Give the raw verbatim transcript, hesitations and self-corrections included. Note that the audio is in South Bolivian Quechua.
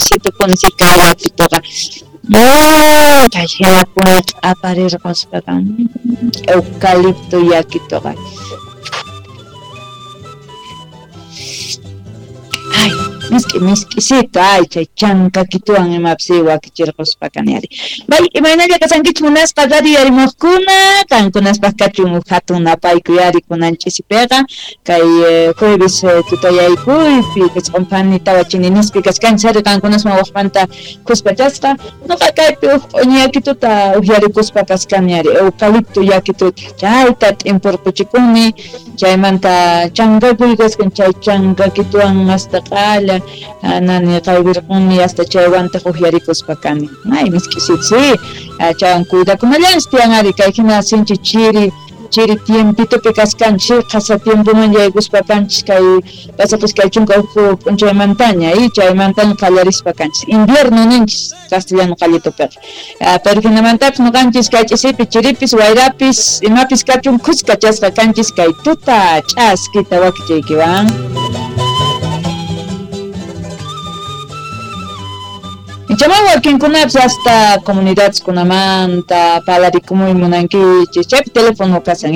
Misk'isitupuni si kay yakituqa. Kay hinapuni q'aparirquspaqa eucalipto yakituqa. Ay, misk'i misk'isito, ay chay chankakituwan imapis wakichirquspa kani ari. Bay, imaynalla kasankichik munasqa radio yarimuqkuna, qankunaspaq kachun huk hatun napaykuy ari kunan ch'isipiqa kay jueves tutayaykuypi isqun phani tawa chininispi kachkanchis ari qankunasman waqmanta khuspachasqa nuqa kaypi huk q'uñi yakituta uhyarikuspa kachkani ari eucalipto yakituta chayta t'impurquchikuni chaymanta chankakuy kaskan chay chankakituwan hasta q'alla nani qaywirquni hasta chaywantaq uhyarikuspa kani. Ay, misk'isito, sí, chaywan cuidakunallanchis tiyan ari kay hina sinchi chiri chiri tiempitopi kaskanchis qhasa tiempoman yaykuspa kanchis kay pasaq iskay chunka huk p'unchaymantaña y chaymantaña qallarispa kanchis invierno ninchis castellano qallitupiqa. Pero hinamantapis nuqanchis kay ch'isipi chiripis wayrapis imapis kachun khuskachasqa kanchis kay tuta ch'askita wakichaykiwan. Chaman wakinkunapis hasta comunidades kunamanta parlarikumuy munankichis chaypi teléfono kasan.